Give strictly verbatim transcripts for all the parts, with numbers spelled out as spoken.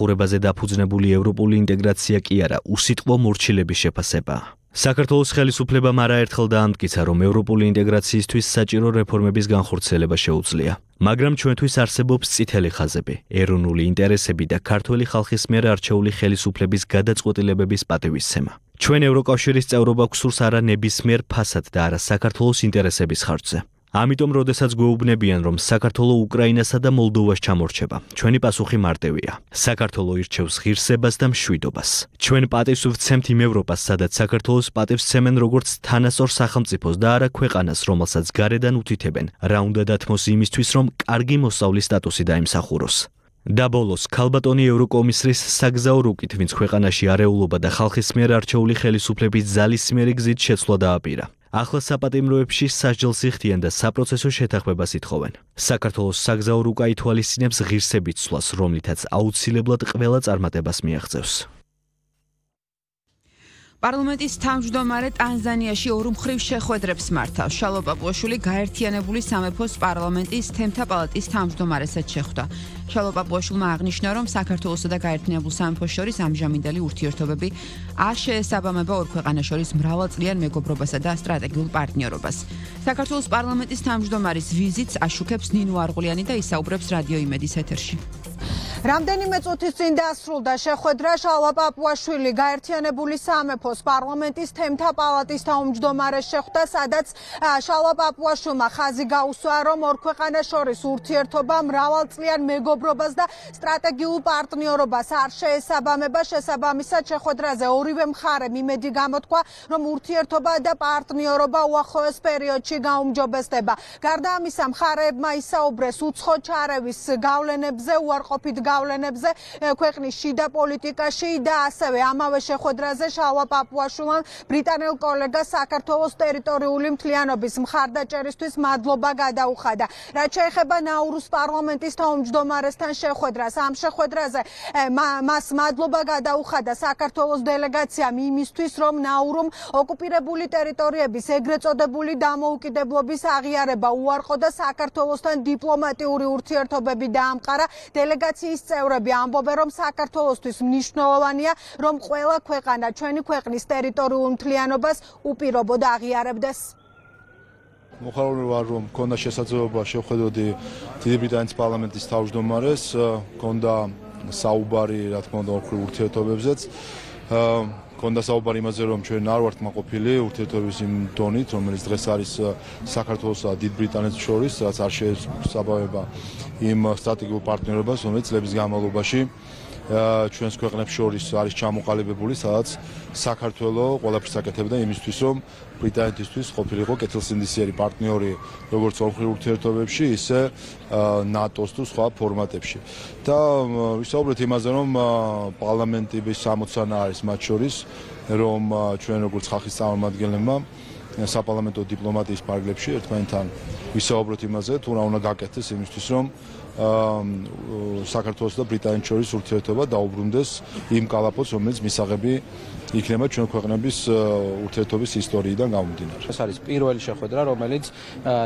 ყურებაზე დაფუძნებული ევროპული ინტეგრაცია კი არა, უსიტყვო მორჩილების შეფასებაა. საქართველოს ხელისუფლებამ არაერთხელ დაამტკიცა, რომ ევროპული ინტეგრაციისთვის საჭირო რეფორმების განხორციელება შეუძლია. მაგრამ ჩვენთვის არსებობს წითელი ხაზები, ეროვნული ინტერესები და ქართველი ხალხის მიერ არჩეული ხელისუფლების გადაწყვეტილებების პატივისცემა. ჩვენ ევროკავშირის წევრობა გვსურს არა ნებისმიერ ფასად და არა საქართველოს ინტერესების ხარჯზე. ამიტომ, როდესაც გვეუბნებიან, რომ საქართველო უკრაინასა და მოლდოვას ჩამორჩება, ჩვენი პასუხი მარტივია. საქართველო ირჩევს ღირსებას და მშვიდობას. ჩვენ პატივს ვცემთ იმ ევროპას, სადაც საქართველოს პატივს ცემენ როგორც თანასწორ სახელმწიფოს და არა ქვეყანას, რომელსაც გარედან უთითებენ, რა უნდა დათმოს იმისთვის, რომ კარგი მოსავლის სტატუსი დაიმსახუროს. და ბოლოს, ქალბატონი ევროკომისრის საგზაო რუკით, ვინც ქვეყანაში არეულობა და ხალხის მიერ არჩეული ხელისუფლების ძალისმიერი გზით შეცვლა დააპირა. ახლა საპატიმროებში სასჯელს იხდიან და საპროცესო შეთანხმებას ითხოვენ. საქართველოს საგზაო რუკა ითვალისწინებს ღირსებით ცვლას, რომლითაც აუცილებლად ყველა წარმატებას მიაღწევს. პარლამენტის თავმჯდომარე ტანზანიაში ორმხრივ შეხვედრებს მართავს. შალვა პაპუაშვილი გაერთიანებული სამეფოს პარლამენტის თემთა პალატის თავმჯდომარესაც შეხვდა. შალვა პაპუაშვილმა აღნიშნა, რომ საქართველოსა და გაერთიანებულ სამეფოს შორის ამჟამინდელი ურთიერთობები არ შეესაბამება ორ ქვეყანას შორის მრავალწლიან მეგობრობასა და სტრატეგიულ პარტნიორობას. საქართველოს პარლამენტის თავმჯდომარის ვიზიტს აშუქებს ნინო არღულიანი და ისაუბრებს რადიო იმედის ეთერში. რამდენიმე წუთის წინ დასრულდა შეხვედრა შალვა პაპუაშვილი გაერთიანებული სამეფოს პარლამენტის თემთა პალატის თავმჯდომარეს შეხვდა, სადაც შალვა პაპუაშვილმა ხაზი გაუსვა, რომ ორ ქვეყანას შორის ურთიერთობა მრავალწლიან მეგობრობას და სტრატეგიულ პარტნიორობას არ შეესაბამება. შესაბამისად, შეხვედრაზე ორივე მხარემ იმედი გამოთქვა, რომ ურთიერთობა და პარტნიორობა უახლოეს პერიოდში გაუმჯობესდება. გარდა ამისა, მხარეებმა ისაუბრეს უცხო ჩარევის გავლენებზე, უარყოფით გავლენებზე ქვეყნის შიდა პოლიტიკაში და ასევე ამავე შეხვედრაზე შალვა პაპუაშვილმა ბრიტანელ კოლეგას საქართველოს ტერიტორიული მთლიანობის მხარდაჭერისთვის მადლობა გადაუხადა. რაც შეეხება ნაურუს პარლამენტის თავმჯდომარესთან შეხვედრას, ამ შეხვედრაზე მას მადლობა გადაუხადა საქართველოს დელეგაციამ იმისთვის, რომ ნაურუმ ოკუპირებული ტერიტორიების ეგრეთ წოდებული დამოუკიდებლობის აღიარება უარყო და საქართველოსთან დიპლომატიური ურთიერთობები დაამყარა. დელეგაციის წევრები ამბობენ, რომ საქართველოსთვის მნიშვნელოვანია, რომ ყველა ქვეყანა ჩვენი ქვეყნის ტერიტორიულ მთლიანობას უპირობოდ აღიარებდეს. მოხარული ვარ, რომ მქონდა შესაძლებლობა შევხედოდი დიდი ბრიტანეთის პარლამენტის თავმჯდომარეს, მქონდა საუბარი, რა თქმა უნდა, ოქროს ურთიერთობებზეც. მქონდა საუბარი იმაზე, რომ ჩვენ არ ვართ მაყოფილი ურთიერთობების იმ დონით, რომელიც დღეს არის საქართველოსა და დიდ ბრიტანეთს შორის, რაც არ შეესაბამება იმ სტრატეგიულ პარტნიორობას, რომელიც წლების განმავლობაში ჩვენს ქვეყნებს შორის არის ჩამოყალიბებული, სადაც საქართველო ყველაფერს აკეთებდა იმისთვის, რომ ბრიტანეთისთვის ყოფილიყო კეთილსინდისიერი პარტნიორი როგორც ორმხრივ ურთიერთობებში, ისე ნატოს თუ სხვა ფორმატებში. და ვისაუბრეთ იმაზე, რომ პარლამენტის სამოცანა არის მათ შორის, რომ ჩვენ როგორც ხალხის წარმომადგენლებმა საპარლამენტო დიპლომატიის ფარგლებში ერთმანეთთან ვისაუბროთ იმაზე, თუ რა უნდა გაკეთდეს იმისთვის, რომ საქართველოს და ბრიტანეთის შორის ურთიერთობა დაუბრუნდეს იმ კალაპოტს, რომელიც მისაღები იქნება ჩვენ ქვეყნების ურთიერთობის ისტორიიდან გამომდინარე. ეს არის პირველი შეხვედრა, რომელიც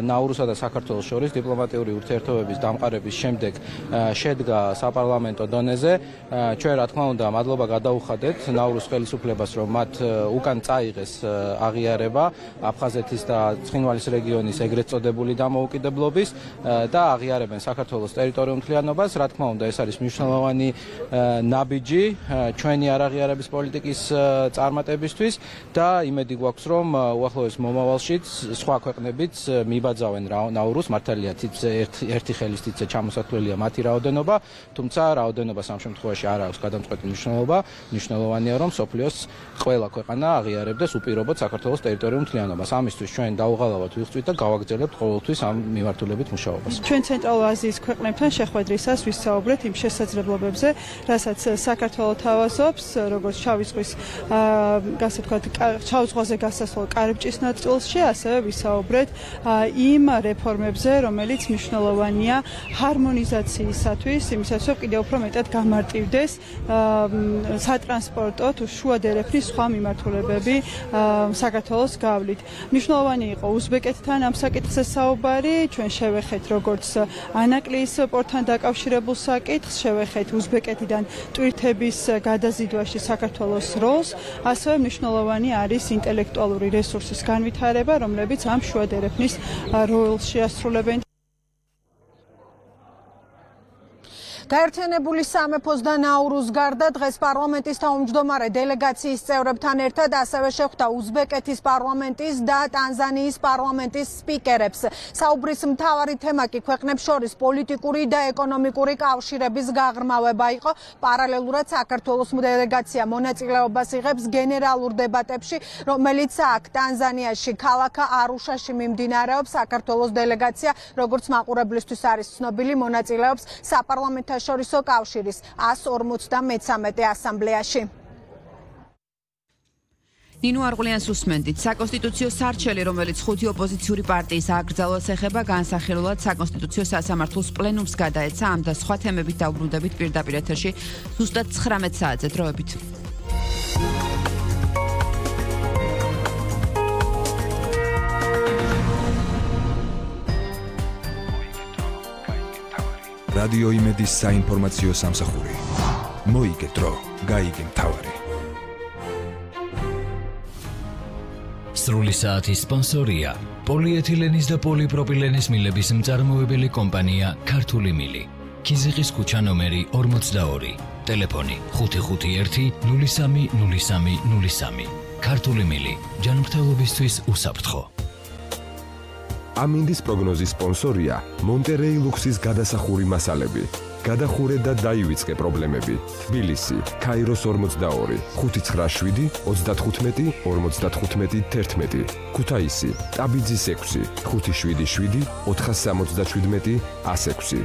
ნაურუსა და საქართველოს შორის დიპლომატიური ურთიერთობების დამყარების შემდეგ შედგა საპარლამენტო დონეზე. ჩვენ რა თქმა უნდა მადლობა გადაუხადეთ ნაურუს ხელისუფლებას, რომ მათ უკან წაიღეს აღიარება აფხაზეთის და ცხინვალის რეგიონის ეგრეთ წოდებული დამოუკიდებლობის და აღიარებენ საქართველოს ტერიტორიულ მთლიანობას. რა თქმა უნდა, ეს არის მნიშვნელოვანი ნაბიჯი ჩვენი არაღიარების პოლიტიკის წარმატებისთვის და იმედი გვაქვს, რომ უახლოეს მომავალშიც სხვა ქვეყნებიც მიბაძავენ ნაურუს, მართალია ერთი ხელის თითზე ჩამოსათვლელია მათი რაოდენობა, თუმცა რაოდენობა სამ შემთხვევაში არ აქვს გადამწყვეტი მნიშვნელობა. მნიშვნელოვანია, რომ სოფლიოს ყველა ქვეყანა აღიარებდეს უპირობოდ საქართველოს ტერიტორიულ მთლიანობას. ამისთვის ჩვენ დაუღალავად ვიღწვით და გავაგრძელებთ ყოველთვის ამ მიმართულებით მუშაობას. ჩვენ ცენტრალურ აზიის ქვეყნებთან შეხვედრისას ვისაუბრეთ იმ შესაძლებლობებზე, რასაც საქართველო თავაზობს, როგორც შავი ზღვის გასა ვთქვათ, შავ ზღვაზე გასასვლელ კარიბჭის ნაწილში, ასევე ვისაუბრეთ იმ რეფორმებზე, რომელიც მნიშვნელოვანია ჰარმონიზაციისათვის, იმისათვის, რომ კიდევ უფრო მეტად გამარტივდეს სატრანსპორტო თუ შუა დერეფნის სხვა მიმართულებები საქართველოს გავლით. მნიშვნელოვანი იყო უზბეკეთთან ამ საკითხზე საუბარი, ჩვენ შევეხეთ როგორც ანაკლის ტრანსპორტთან დაკავშირებულ საკითხს, შევეხეთ უზბეკეთიდან ტვირთების გადაზიდვაში საქართველოს როლს, ასევე მნიშვნელოვანი არის ინტელექტუალური რესურსის განვითარება, რომლებიც ამ შუა დერეფნის როლს შეასრულებენ. გაერთიანებული სამეფოს და ნაურუს გარდა დღეს პარლამენტის თავმჯდომარე დელეგაციის წევრებთან ერთად ასევე შეხვდა უზბეკეთის პარლამენტის და ტანზანიის პარლამენტის სპიკერებს. საუბრის მთავარი თემა კი ქვეყნებს შორის პოლიტიკური და ეკონომიკური კავშირების გაღრმავება იყო. პარალელურად საქართველოს დელეგაცია მონაწილეობას იღებს გენერალურ დებატებში, რომელიც აქ ტანზანიაში ქალაქ არუშაში მიმდინარეობს. საქართველოს დელეგაცია, როგორც მაყურებლისთვის არის ცნობილი, მონაწილეობს საპარლამენტო შორისო კავშირის εκατს ორმოცდამეცამეტე ასამბლეაში. ნინო არღულიანს უსმენდით. საკონსტიტუციო სარჩელი, რომელიც ხუთი ოპოზიციური პარტიის აკრძალვას ეხება, განსახილულად საკონსტიტუციო სასამართლოს პლენუმს გადაეცა. ამ და სხვა თემებით დაუბრუნდებით პირდაპირ ეთერში ზუსტად ცხრამეტ საათზე დროებით. რადიო იმედის საინფორმაციო სამსახური. მოიგე დრო, გაიგე მთავარი. სრული საათის სპონსორია პოლიეთილენის და პოლიპროპილენის მილების მწარმოებელი კომპანია ქართული მილი. ქიზიყის ქუჩა ნომერი ორმოცდაორი. ტელეფონი ხუთი ხუთი ერთი ნული სამი ნული სამი ნული სამი. ქართული მილი. ჯანმრთელობისთვის უსაფრთხო. ამინდის პროგნოზის სპონსორია მონტერეი ლუქსის გადასახური მასალები. გადახურე და დაივიწყე პრობლემები. თბილისი, ქაიროს ორმოცდაორი, ხუთი ცხრა შვიდი ოცდათხუთმეტი ორმოცდათხუთმეტი თერთმეტი. ქუთაისი, ტაბიძის ექვსი, ხუთი შვიდი შვიდი ოთხასამოცდაშვიდმეტი ასექვსი.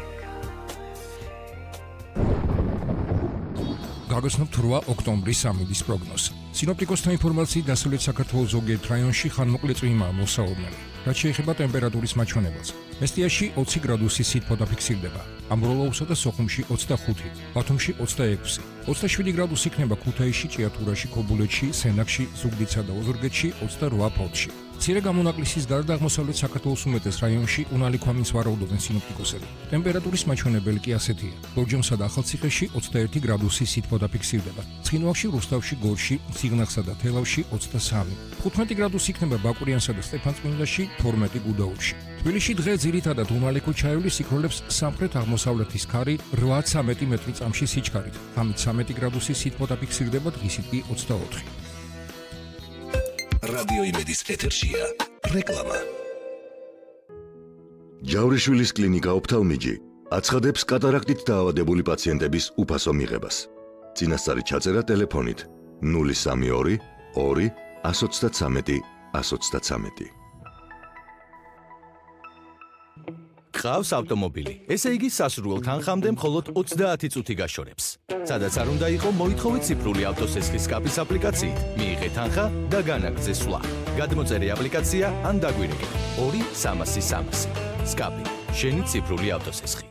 გაგაცნობთ რვა ოქტომბრის ამინდის პროგნოზი. სინოპტიკოსთა ინფორმაციით დასავლეთ საქართველოს ზოგიერთ რაიონში ხანმოკლე წვიმაა მოსაუბნელი. რაც შეეხება ტემპერატურის მაჩვენებელს. მესტიაში ოცი გრადუსი სითბო დაფიქსირდება. ამბროლოუსა და სოხუმში ოცდახუთი, ბათუმში ოცდაექვსი, ოცდაშვიდი გრადუსი იქნება ქუთაისში, ჭიათურაში, ქობულეთში, სენაკში, ზუგდიდსა და ოზურგეთში, ოცდარვა ფოთში. მცირე გამონაკლისის გარდა აღმოსავლეთ საქართველოს უმეტეს რაიონში უნალი ქვამინს ვარაუდობენ სინოპტიკოსები. ტემპერატურის მაჩვენებელი კი ასეთია. ლორჯომსა და ახალციხეში ოცდაერთი გრადუსი სითბო დაფიქსირდება. ცხინვალში, რუსთავში, გორში, ციგნახსა და თელავში ოცდასამი. თხუთმეტი გრადუსი იქნება ბაკურიანსა და სტეფანწმინდაში, თორმეტი გუდაუთში. თბილისში დღე ძირითადად უმალი ქუჩაევლის იქროლებს სამხრეთ-აღმოსავლეთის ქარი რვაცამეტი მეტრი წამში სიჩქარით. ღამით სამეტი გრადუსი სითბო დაფიქსირდება, დღისით კი ოცდაოთხი. რადიო იმედის ეთერშია რეკლამა. ჯავრიშვილის კლინიკა ოფთალმიჯი აცხადებს კატარაქტით დაავადებული პაციენტების უფასო მიღებას. წინასწარი ჩაწერა ტელეფონით ნული სამი ორი ორი εκατს ოცდათვრამეტი εκατს ოცდათვრამეტი. გყავს ავტომობილი, ესე იგი სასურველ თანხამდე მხოლოდ ოცდაათი წუთი გაშორებს. სადაც არ უნდა იყო, მოითხოვეთ ციფრული ავტოსესხის სკაპის აპლიკაციით, მიიღეთ თანხა და განაგრძე სვლა. გადმოწერე აპლიკაცია ან დაგვირეკე ორი სამასი სამასი. სკაპი, შენი ციფრული ავტოსესხი.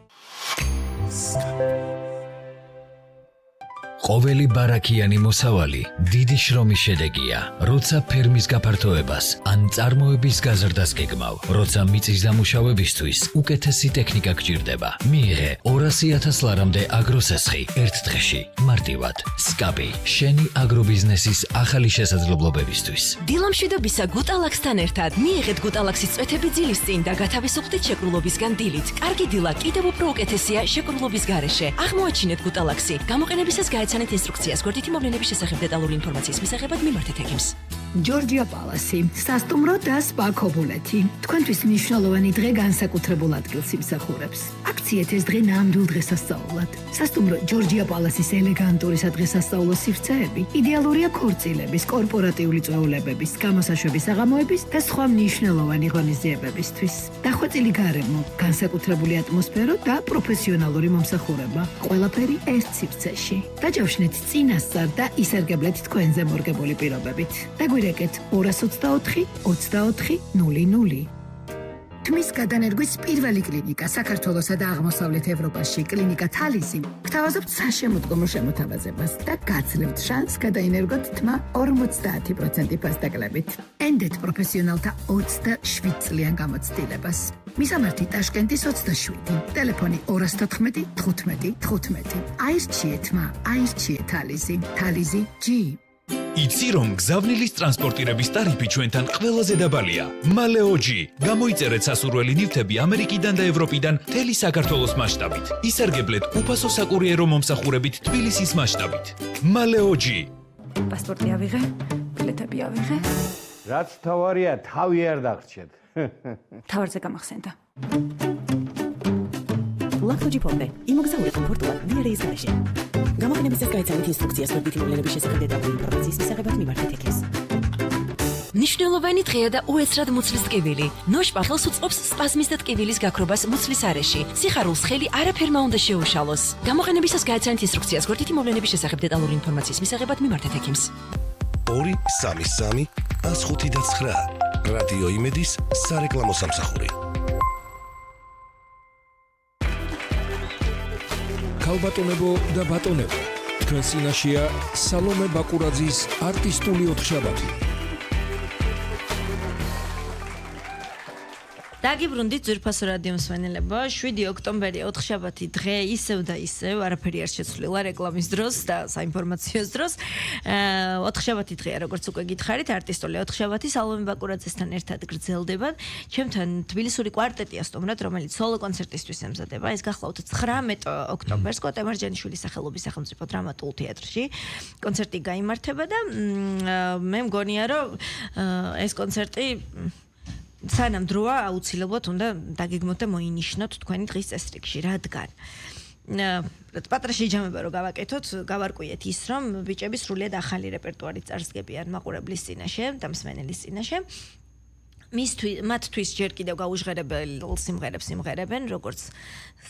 ყოველი ბარაქიანი მოსავალი დიდი შრომის შედეგია, როცა ფერმის გაფართოებას ან წარმოების გაზრდას გეგმავ, როცა მიწის დამუშავებისთვის უკეთესი ტექნიკა გჭირდება. მიიღე ორასი ათას ლარამდე აგროსესხი ერთ დღეში, მარტივად. სკაპი, შენი აგრობიზნესის ახალი შესაძლებლობებისთვის. დილამშვიდობისა გუტალაქსთან ერთად მიიღეთ გუტალაქსის წვეთები ძილის წინ და გათავისუფლდით შეკრულობისგან დილით. კარგი დილა კიდევ უფრო უკეთესია შეკრულობის გარეშე. აღმოაჩინეთ გუტალაქსი. გამოყენებისას გაეცანეთ ინსტრუქციას. გვერდითი მოვლენების შესახებ დეტალური ინფორმაციის მისაღებად მიმართეთ ექიმს. ჯორჯია პალასი, სასტუმრო და სპა ქობულეთი. თქვენთვის მნიშვნელოვანი დღე განსაკუთრებულ ადგილს იმსახურებს. აქციეთ ეს დღე ნამდვილ დღესასწაულად. სასტუმრო ჯორჯია პალასის ელეგანტური სადღესასწაულო სივრცეები იდეალურია ქორწილების, კორპორატიული წვეულებების, გამოსაშვების საღამოების და სხვა მნიშვნელოვანი ღონისძიებებისთვის. დახვეწილი გარემო, განსაკუთრებული ატმოსფერო და პროფესიონალური მომსახურება. ყველაფერი ერთ სივრცეში. დაჯავშნეთ წინასწარ და ისარგებლეთ თქვენზე მორგებული პირობებით. დაგვირეკეთ ორას ოცდაოთხი ოცდაოთხი ნული ნული. თმის გადანერგვის პირველი კლინიკა საქართველოსა და აღმოსავლეთ ევროპაში, კლინიკა თალისი, გთავაზობთ საშემოდგომო შემოთავაზებას და გაძლევთ შანსს გადაინერგოთ თმა ორმოცდაათი პროცენტი ფასდაკლებით. ენდეთ პროფესიონალთა ოცდაშვიდ წლიან გამოცდილებას. მისამართი ტაშკენტის ოცდაშვიდი, ტელეფონი ორას თოთხმეტი თხუთმეტი თხუთმეტი. აირჩიეთ თმა, აირჩიეთ თალისი, თალისი G. იცი რომ გზავნილის ტრანსპორტირების ტარიფი ჩვენთან ყველაზე დაბალია. მალეოჯი. გამოიწერეთ სასურველი ნივთები ამერიკიდან და ევროპიდან მთელი საქართველოს მასშტაბით. ისარგებლეთ უფასო საკურიერო მომსახურებით თბილისის მასშტაბით. მალეოჯი. პასპორტი ავიღე, ბილეთები ავიღე. რაც თავარია, თავი არ დაგრჩეთ. თავარზე გამახსენდა. ლაქტოჯი ფონდე. იმოგზაურე კომფორტულად ვიარეის გარეშე. გამოყენების წესს გაიცანით ინსტრუქციას მოდვითი მოვლენების შესახებ დეტალური ინფორმაციის მისაღებად მიმართეთ ექეს. ნიშნულოვანი დღეა და უეცრად მუცლის ტკივილი. ნოშპა ხელს უწყობს სპაზმის და ტკივილის გაქრობას მუცლის არეში. სიხარულს ხელი არაფერმა უნდა შეუშალოს. გამოყენებისას გაიცანით ინსტრუქციას მოდვითი მოვლენების შესახებ დეტალური ინფორმაციის მისაღებად მიმართეთ ექიმს. ორი სამი სამი ას ხუთი და ცხრა. რადიო იმედის სარეკლამო სამსახური. ქალბატონებო და ბატონებო, თქვენ წინაშეა სალომე ბაკურაძის არტისტული ოთხშაბათი. დაგიბრუნდით ძვირფასო რადიო მსმენელებო, შვიდი ოქტომბერი ოთხშაბათი დღე ისევ და ისევ არაფერი არ შეცვლილა რეკლამის დროს და საინფორმაციოს დროს. ოთხშაბათი დღეა, როგორც უკვე გითხარით, არტისტული ოთხშაბათი სალომე ბაკურაძესთან ერთად გრძელდება. ჩემთან თბილისური კვარტეტია სტუმრად, რომელიც სოლო კონცერტისთვის ემზადება. ეს გახლავთ ცხრამეტ ოქტომბერს კოტე მარჯანიშვილის სახელობის სახელმწიფო დრამატულ თეატრში. კონცერტი გაიმართება და მე მგონია, რომ ეს კონცერტი სანამ დროა აუცილებლად უნდა დაგეგმოთ და მოინიშნოთ თქვენი დღის წესრიგში, რადგან პატრა შეჯამება რომ გავაკეთოთ, გავარკვიეთ ის, რომ ბიჭები სრულიად ახალი რეპერტუარი წარსდგებიან მაყურებლის წინაშე და მსმენელის წინაშე. მისთვის მათთვის ჯერ კიდევ გაუჟღერებელ სიმღერებს იმღერებენ, როგორც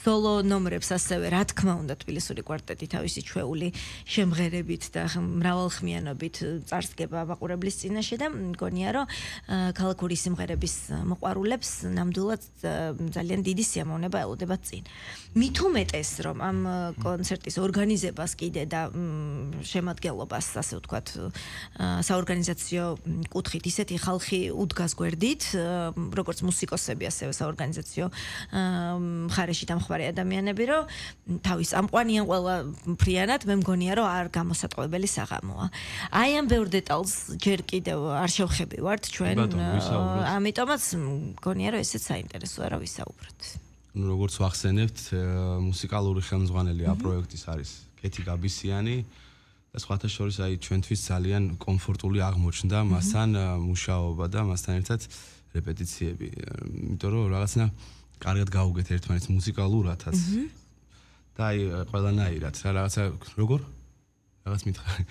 სოლო ნომრებს, ასევე რა თქმა უნდა თბილისური კვარტეტი თავისი ჩვეული შემღერებით და მრავალხმიანობით წარსდგება მაყურებლის წინაშე და მგონია რომ ქალაქური სიმღერების მოყვარულებს ნამდვილად ძალიან დიდი სიამოვნება ელოდებათ წინ. მით უმეტეს რომ ამ კონცერტის ორგანიზებას კიდე და შემადგენლობას, ასე ვთქვათ, საორგანიზაციო კუთხით ისეთი ხალხი უდგას გვერდით, როგორც მუსიკოსები, ასევე საორგანიზაციო მხარეში დამხმარე ადამიანები, რომ თავის ამყვანიან ყველა ფრიანად, მე მგონია, რომ არ გამოსატყუებელი საღამოა. აი ამ ბევრ დეტალს ჯერ კიდევ არ შევხებივართ ჩვენ, ამიტომაც მგონია, რომ ესეც საინტერესოა რა ვისაუბროთ. ნუ როგორც ვახსენებთ, მუსიკალური ხელმძღვანელი ამ პროექტის არის კეთი გაბისიანი და სხვათა შორის აი ჩვენთვის ძალიან კომფორტული აღმოჩნდა მასთან მუშაობა და მასთან ერთად რეპეტიციები, იმიტომ რომ რაღაცნა კარგად გავუგეთ ერთმანეთს მუსიკალურადაც. და აი ყველანაირად რა რაღაცა როგორ? რაღაც მითხარი.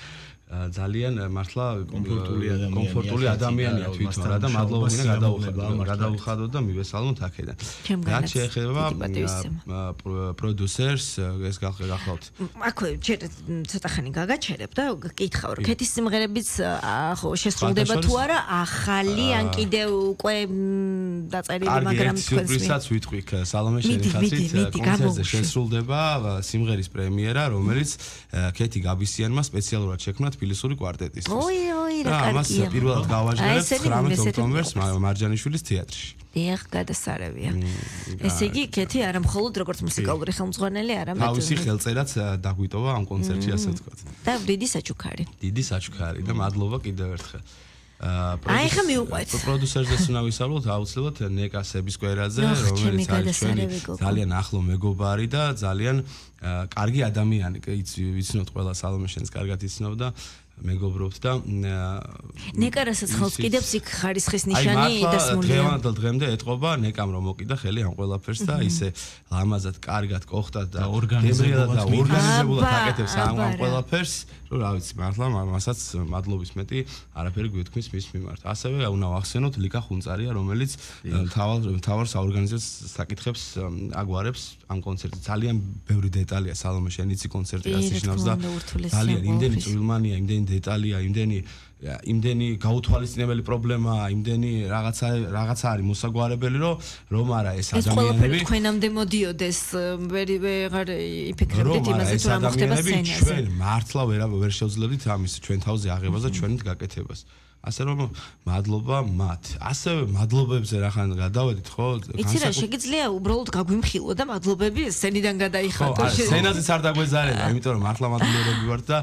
ძალიან მართლა კომფორტული ადამიანია თვითონ რა და მადლობა მინდა გადავუხადოთ და მივესალმოთ აქედან. რაც შეეხება პროდიუსერს, ეს გახლავთ. აქვე ჯერ ცოტა ხანი გაგაჩერებ და გკითხავ, რომ კეთის სიმღერებიც ხო შესრულდება თუ არა ახალი ან კიდევ უკვე დაწერილი, მაგრამ თქვენს ვისაც ვიტყვი სალომე შენი ხაზით კონცერტზე შესრულდება სიმღერის პრემიერა, რომელიც კეთი გაბისიანმა სპეციალურად შექმნა თბილისური კვარტეტის. ოი, ოი, რა კარგია. ამას პირველად გავაჟღერებთ ცხრამეტ ოქტომბერს მარჯანიშვილის თეატრში. დიახ, გადასარევია. ესე იგი, კეთი არა მხოლოდ როგორც მუსიკალური ხელმძღვანელი, არამედ თავისი ხელწერაც დაგვიტოვა ამ კონცერტში, ასე ვთქვათ. და დიდი საჩუქარი. დიდი საჩუქარი და მადლობა კიდევ ერთხელ. აი ხა მიუყვეთ. პროდიუსერზეც უნდა ვისაუბროთ აუცილებლად ნეკა სებისკვერაძე, რომელიც არის ჩვენი ძალიან ახლო მეგობარი და ძალიან კარგი ადამიანი. იცნობთ ყველა სალომე შენს კარგად იცნობ და მეგობრობთ და ნეკარასაც ხელს კიდევს იქ ხარისხის ნიშანი დასმულია. დღევანდელ დღემდე ეტყობა ნეკამ რომ მოკიდა ხელი ამ ყველაფერს და ისე ლამაზად, კარგად, კოხტად და ორგანიზებულად და ორგანიზებულად აკეთებს ამ ყველაფერს, რომ რა ვიცი, მართლა მასაც მადლობის მეტი არაფერი გვეთქმის მის მიმართ. ასევე უნდა ვახსენოთ ლიკა ხუნწარია, რომელიც თავალ თავალ საორგანიზაციო საკითხებს აგვარებს ამ კონცერტზე. ძალიან ბევრი დეტალია სალომე შენ იცი კონცერტი ასე შნავს და ძალიან იმდენი წვრილმანია, იმდენი დეტალია, იმდენი იმდენი გაუთვალისწინებელი პრობლემაა, იმდენი რაღაცა რაღაცა არის მოსაგვარებელი, რომ რომ არა ეს ადამიანები თქვენამდე მოდიოდეს, ვერ ვეღარ იფიქრებდით იმაზე თუ რა მოხდება სცენაზე. ჩვენ მართლა ვერ ვერ შევძლებდით ამის ჩვენ თავზე აღებას და ჩვენით გაკეთებას. ასე რომ მადლობა მათ. ასევე მადლობებზე რახან გადავედით, ხო? იცი რა, შეგიძლია უბრალოდ გაგვიმხილო და მადლობები სცენიდან გადაიხატო. ხო, სცენაზეც არ დაგვეზარება, იმიტომ რომ მართლა მადლიერები ვართ და